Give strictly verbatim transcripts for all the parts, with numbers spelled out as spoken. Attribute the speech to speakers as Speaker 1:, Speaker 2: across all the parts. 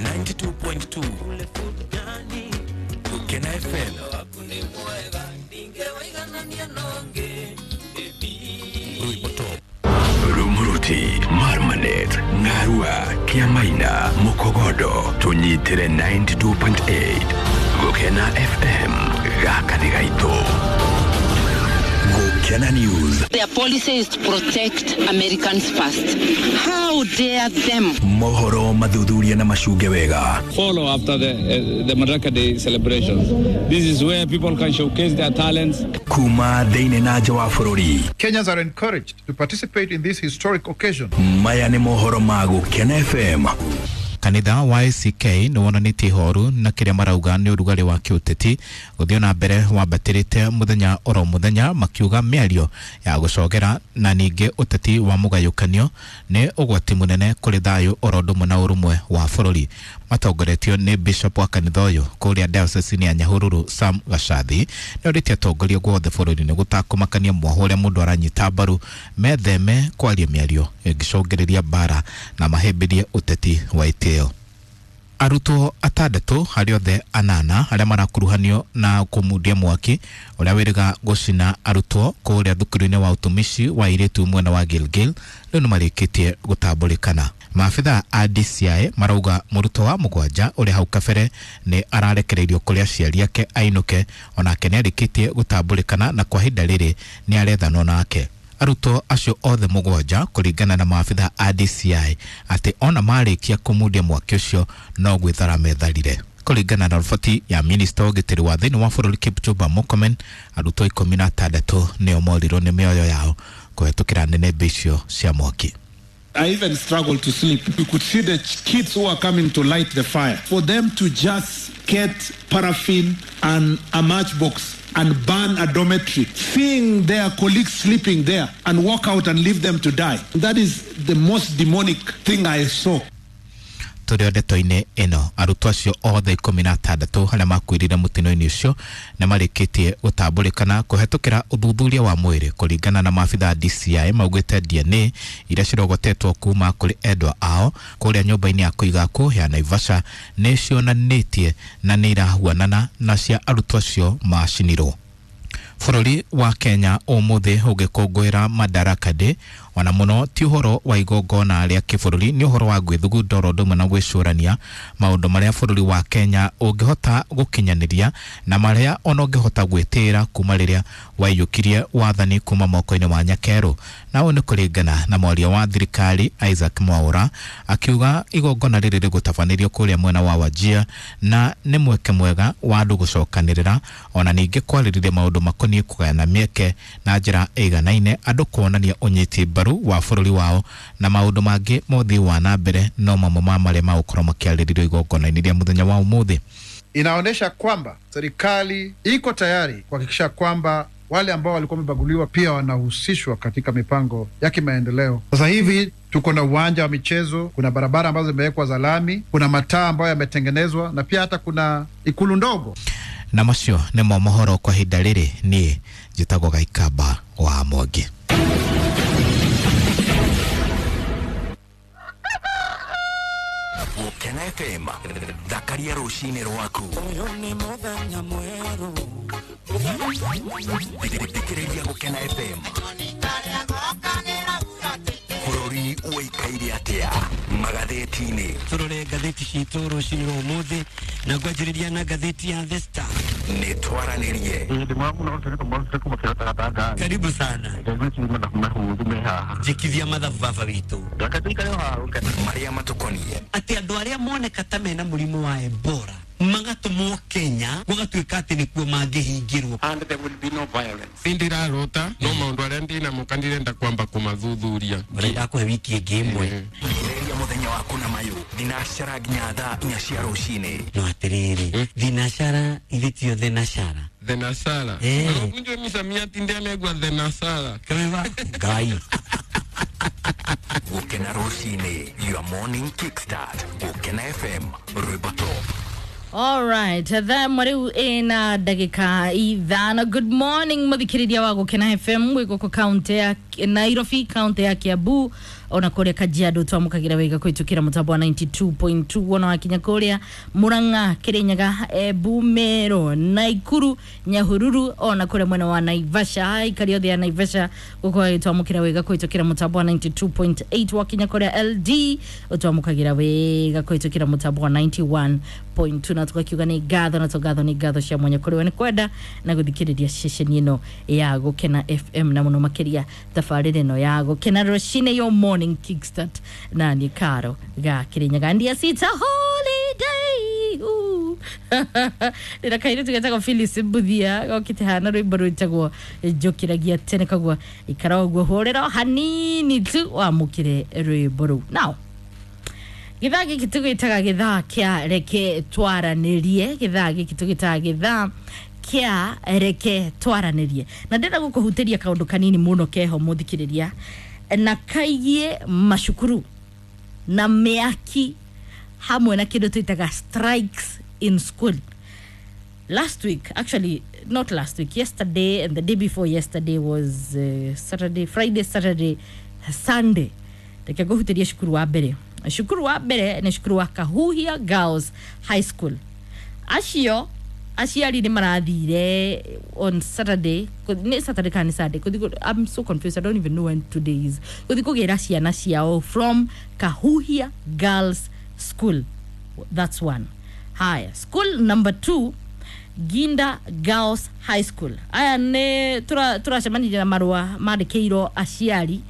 Speaker 1: ninety-two point two Gukena F M.
Speaker 2: Rumuruti, Marmanet, Ngarua, Kiamaina, Mukogodo, tunyitere ninety-two point eight Gukena F M, gaka nĩ gaitũ. Gukena News.
Speaker 3: Their policy is to protect Americans first. How dare them?
Speaker 2: Mohoro mathuthuria na macunge wega.
Speaker 4: Follow after the, uh, the Madaraka Day celebrations. This is where people can showcase their talents.
Speaker 2: Kuma thĩinĩ na nja wa bũrũri.
Speaker 5: Kenyans are encouraged to participate in this historic occasion.
Speaker 2: Maya nĩ mohoro ma Gukena F M.
Speaker 6: Kanitha wa A C K nĩ wonanĩtie ihoru na kĩrĩa marauga nĩ ũrugarĩ wa kĩũteti gũthiĩ na mbere wambatĩrĩte mũthenya oro mũthenya, makiuga mĩario ya gũcogera na ningĩ ũteti wa mũgayũkanio nĩ ũgwati mũnene kũrĩ thayũ oro ũndũ ũmwe na ũrũmwe wa bũrũri. Matongoretio nĩ Bishop wa kanitha ũyũ kũrĩa diocese ya Nyahururu Sam Gacathi nĩ orĩtie atongoria guothe bũrũri-inĩ gũtakũmakania mwaho ũrĩa mũndũ aranyita mbaru metheme kwaria mĩario ĩngĩcũngĩrĩria mbara na mahĩmbĩrie ũteti wa itĩo. Arutwo atandatũ harĩ othe anana arĩa marakuruhanio na kũmundia mwaki ũrĩa wĩrĩga gũcina arutwo kũrĩa thukuru-inĩ wa ũtumishi wa airĩtu mwena wa Gilgil rĩu nĩ marĩkĩtie gũtambũrĩkana. Maabitha a D C I marauga mũrutwo wa mũgwanja ũrĩa hau kabere nĩ ararekereirio kũrĩ aciari ake ainũke, onake nĩ arĩkĩtie gũtambũrĩkana na kwa ihinda rĩrĩ nĩ arethanwo nake. Arutwo acio othe mũgwanja kũringana na maabitha a D C I atĩ ona marĩkia kũmundia mwaki ũcio no gwĩthara metharire. Kũringana na riboti ya minista wa ũgitĩri wa thĩinĩ wa bũrũri Kipchumba Murkomen, arutwo ikũmi na atandatũ nĩo morirwo nĩ mĩoyo yao kũhetũkĩra nĩnĩmbĩ icio cia mwaki.
Speaker 7: I even struggled to sleep. You could see the kids who are coming to light the fire. For them to just get paraffin and a matchbox and burn a dormitory, seeing their colleagues sleeping there and walk out and leave them to die. That is the most demonic thing I saw.
Speaker 6: Tũrĩ o ndeto-inĩ ĩno, arutwo acio othe ikũmi na atandatũ arĩa makuĩrire mũtino-inĩ ũcio nĩ marĩkĩtie gũtambũrĩkana kũhetũkĩra ũthuthuria wa mwĩrĩ. Kũringana na maabitha D C I maugĩte D N A iria cirogotetwo kuma kũrĩ endwa ao kũrĩa nyũmba-inĩ ya kũiga akuũ ya Naivasha nĩ cionanĩtie na nĩ irahuanana na cia arutwo acio macinirwo. Bũrũri wa Kenya ũmũthĩ ũgĩkũngũĩra Madaraka Day, ona mũno ti ũhoro wa igongona rĩa kĩbũrũri, nĩ ũhoro wa gwĩthugunda oro ũndũ ũmwe na gwĩcũrania maũndũ marĩa bũrũri wa Kenya ũngĩhota gũkinyanĩria na marĩa ona ũngĩhota gwĩtĩĩra kuma rĩrĩa waiyũkirie wathani kuma moko-inĩ ma Nyakerũ. Na ũũ nĩ kũringana na mwaria wa thirikari Isaac Mwaura akiuga igongona rĩrĩ rĩgũtabanĩrio kũrĩa mwena wa Wajir na nĩ mweke mwega wa andũ gũcokanĩrĩra ona ningĩ kwarĩrĩria maũndũ makoniĩ kũgayana mĩeke na njĩra ĩiganaine, andũ kuonania ũnyiti mbaru wa bũrũri wao na maũndũ mangĩ ma ũthii wa na mbere no mamwe ma marĩa magũkorwo makĩarĩrĩrio igongona-inĩ rĩa mũthenya wa ũmũthĩ.
Speaker 5: Inaonyesha kwamba serikali iko tayari kuhakikisha kwamba wale ambao walikuwa wamebaguliwa pia wanahusishwa katika mipango ya kimaendeleo. Sasa hivi tuko na uwanja wa michezo, kuna barabara ambazo zimewekwa za lami, kuna mataa ambayo yametengenezwa na pia hata kuna ikulu ndogo.
Speaker 6: Na macio nĩmo mohoro kwa ihinda rĩrĩ, niĩ njĩtagwo Gaikamba wa Mwangi.
Speaker 2: Gukena F M, thakaria rũcinĩ rwaku. Thikĩrĩria Gukena F M. Bũrũri ũikaire atĩa magathĩti-inĩ?
Speaker 8: Tũrore ngathĩti citũ rũcinĩ rwa ũmũthĩ na ngwanjĩrĩria na ngathĩti ya The Star.
Speaker 2: Nĩ twaranĩrie.
Speaker 8: Karibu sana. Njikithia mathabu baba witũ.
Speaker 2: Marĩa matũkoniĩ.
Speaker 8: Atĩ andũ arĩa moneka ta mena mũrimũ wa Ebola magatũmwo Kenya gũgatuĩka atĩ nĩkuo mangĩhingĩrwo.
Speaker 9: And there will be no violence. Ndirarota no maũndũ arĩa ndinamo ndirenda kwamba kũmathuthuria.
Speaker 8: Ũrenda kũhe wiki ĩngĩ ĩmwe.
Speaker 2: Thikĩrĩria mũthenya waku na mayũ thinacara nginya thaa inya cia rũcinĩ.
Speaker 8: No atĩrĩrĩ, thinacara ithe tio thenashara.
Speaker 9: Thenashara. Unjue misamiati ndianegwa thenashara.
Speaker 8: Kaweva Ngai.
Speaker 2: Gukena rũcinĩ, your morning kickstart. Gukena F M, rwĩmbo top.
Speaker 10: All right, thaa riu ina ndagika ithano. Good morning muthikiriria wa Gukena F M wi guku kaunti ya Nairobi, kaunti ya Kiambu, Ona kuria Kajiado twamukagira wega kwitukira mutambo wa ninety-two point two. Wona wakinya kuria Murang'a, Kirinyaga, Embu, Meru, Naikuru, Nyahururu, ona kuria mwena wa Naivasha, aikari othe ya Naivasha gukorwo twamukira wega kwitukira mutambo wa ninety-two point eight. Wakinya kuria L D utwamukagira wega kwitukira mutambo wa ninety-one point two. Na tukakiuga ni ngatho na tugatho ni ngatho cia mwanya kuri we ni kwenda na guthikiriria ceceni ino ya Gukena F M na muno makiria tabarĩra ĩno ya Gukena Rũcinĩ, your morning kickstart na ni Karo ga Kirinyaga. Ndia sita holiday. Ooh. Ndĩna kairĩtu getagwo Phyllis Mbuthia gokĩte hana rwĩmbo rwĩtagwo Njũkĩragia Tene, koguo ikara ũguo hũrĩra hanini tu wamũkĩre rwĩmbo rũu. Now gĩthaa gĩkĩ tũgĩtaga gĩthaa kĩa reke twaranĩrie, gĩthaa gĩkĩ tũgĩtaga gĩthaa kĩa reke twaranĩrie, na ndĩrenda gũkũhutĩria kaũndũ kanini mũno keho mũthikĩrĩria, na kaigie macukuru na mĩaki hamwe na kĩndũ twĩtaga strikes in school. Last week, actually not last week, yesterday and the day before yesterday was uh, Saturday, Friday, Saturday, Sunday. Reke ngũhutĩrie cukuru wa mbere. Cukuru wa mbere nĩ cukuru wa Kahuhia Girls High School. Acio aciari nĩ marathire on Saturday, nĩ Saturday kana nĩ Sunday, I'm so confused, I don't even know when today is, gũthiĩ kũgĩra ciana ciao from Kahuhia Girls School. That's one. Haya, school number two, Ginda Girls High School. Aya nĩ tũracemanirie na marũa mandĩkĩirwo aciari,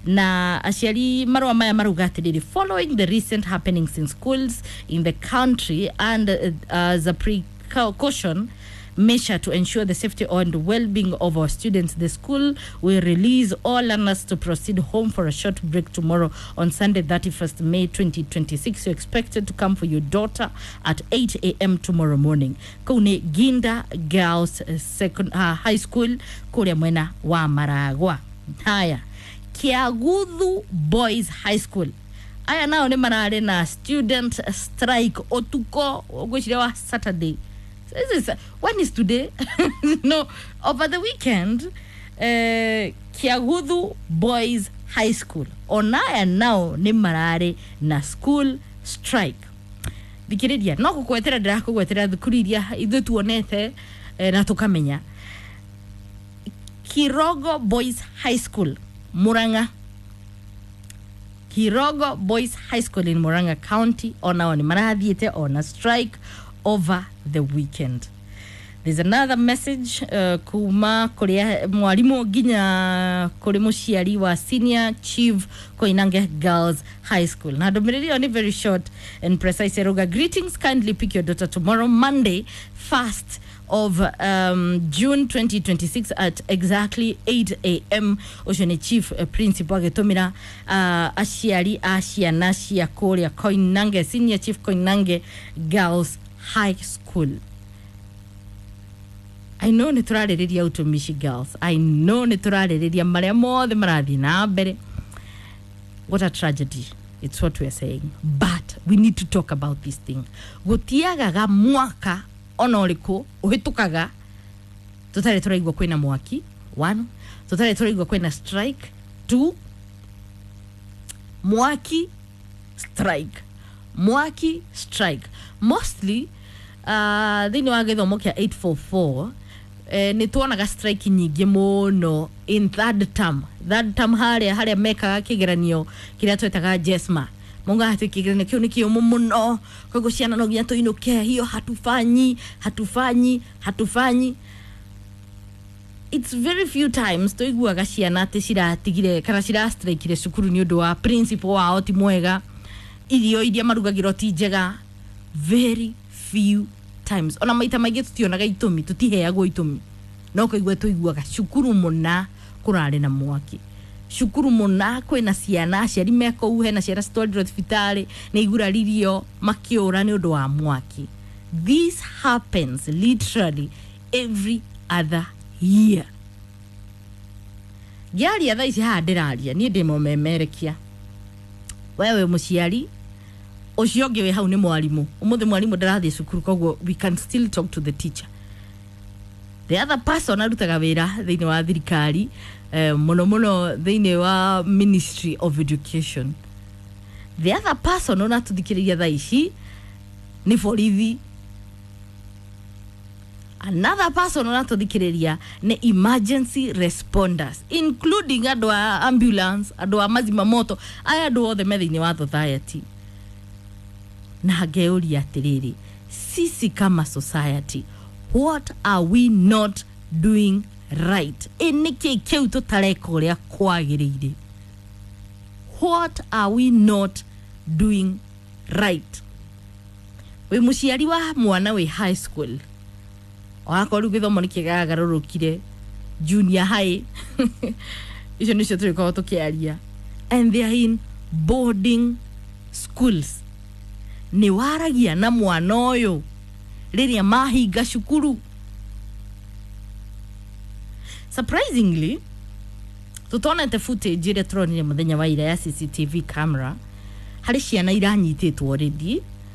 Speaker 10: na aciari marũa maya marauga atĩrĩrĩ, following the recent happenings in schools in the country and uh, as a precaution measure to ensure the safety and well-being of our students, the school will release all learners to proceed home for a short break tomorrow on Sunday thirty-first May twenty twenty-six. You're expected to come for your daughter at eight a m tomorrow morning. Kũu nĩ Ginda Girls Second, uh, High School kũrĩa mwena wa Maragwa. Haya, Kiaguthu Boys High School. Aya nao nĩ mararĩ na student strike ũtukũ ngwĩciria wa Saturday. This is, when is today? No, over the weekend, uh, Kiaguthu Boys High School. Onaya nao nĩ mararĩ na school strike. Thikĩrĩria, no gũkwetera ndĩrakũgwetera thukuru iria ithuĩ tuonete eh, na tũkamenya. Kirogo Boys High School, Murang'a. Kirogo Boys High School in Murang'a County onao nĩ marathiĩte on a strike over the weekend. There's another message uh, kuma kuria mwalimu nginya kuri muciari wa Senior Chief Koinange Girls High School. Na ndũmĩrĩri ĩyo nĩ very short and precise. Eruga, greetings, kindly pick your daughter tomorrow Monday first of um, June twenty twenty-six at exactly eight a m. Ũcio nĩ Chief uh, Principal agĩtũmĩra uh, aciari a ciana cia kũrĩa Koinange, Senior Chief Koinange Girls High School. I know nĩ tũrarĩrĩria utumishi girls. I know nĩ tũrarĩrĩria marĩa mothe marathiĩ na mbere. What a tragedy. It's what we are saying. But we need to talk about this thing. Gũtiagaga mwaka ona ũrĩkũ ũhĩtũkaga tũtarĩ tũraigua kwĩna mwaki. One, tũtarĩ tũraigua kwĩna strike. Two, mwaki strike. Mwaki strike. Mostly uh, thĩinĩ wa gĩthomo kĩa eight four four eh, nĩ tuonaga strike nyingĩ mũno in third term. Third term harĩa harĩa mekaga kĩgeranio kĩrĩa twetaga JESMA. Maugaga atĩ kĩgeranio kĩu nĩ kĩũmũ mũno, koguo ciana no nginya tũinũke, hiyo hatufanyi, hatufanyi, hatufanyi. It's very few times tũiguaga ciana atĩ ciratigire kana cirastrikire cukuru nĩ ũndũ wa principal wao ti mwega, irio iria marugagĩrwo ti njega. Very few times. Ona maita maingĩ tũtionaga itũmi, tũtiheagwo itũmi, no kũigua tũiguaga cukuru mũna kũrarĩ na mwaki, cukuru mũna kwĩna ciana, aciari me kũu, hena ciana citwarirwo thibitarĩ nĩ iguraririo makĩũra nĩ ũndũ wa mwaki. This happens literally every other year. Ngĩaria thaa ici haha ndĩraria niĩ ndĩ mũmemerekia, wewe mũciari ũcio ũngĩ wĩ hau nĩ mwarimũ. Ũmũthĩ mwarimũ ndarathiĩ cukuru, koguo we can still talk to the teacher. The other person arutaga wĩra thĩinĩ wa thirikari, eh, mũno mũno thĩinĩ wa Ministry of Education. The other person ũratũthikĩrĩria thaa ici nĩ borithi. Another person ũratũthikĩrĩria nĩ emergency responders, including andũ a ambulance, andũ a mazima moto, aya andũ othe me thĩinĩ wa society. Na ngeuria atĩrĩrĩ, sisi kama society, what are we not doing right? Ĩ nĩkĩ kĩu tũtareka ũrĩa kwagĩrĩire? What are we not doing right? Wĩ mũciari wa mwana wĩ high school, onakorwo rĩu gĩthomo nĩ kĩgagarũrũkire, junior high, icio nĩcio tũrĩkorwo tũkĩaria, and they are in boarding schools, nĩ waragia na mwana ũyũ rĩrĩa mahinga cukuru? Surprisingly, tũtonete footage ĩrĩa tũronire mũthenya wa ira ya C C T V camera harĩ ciana iranyitĩtwo already.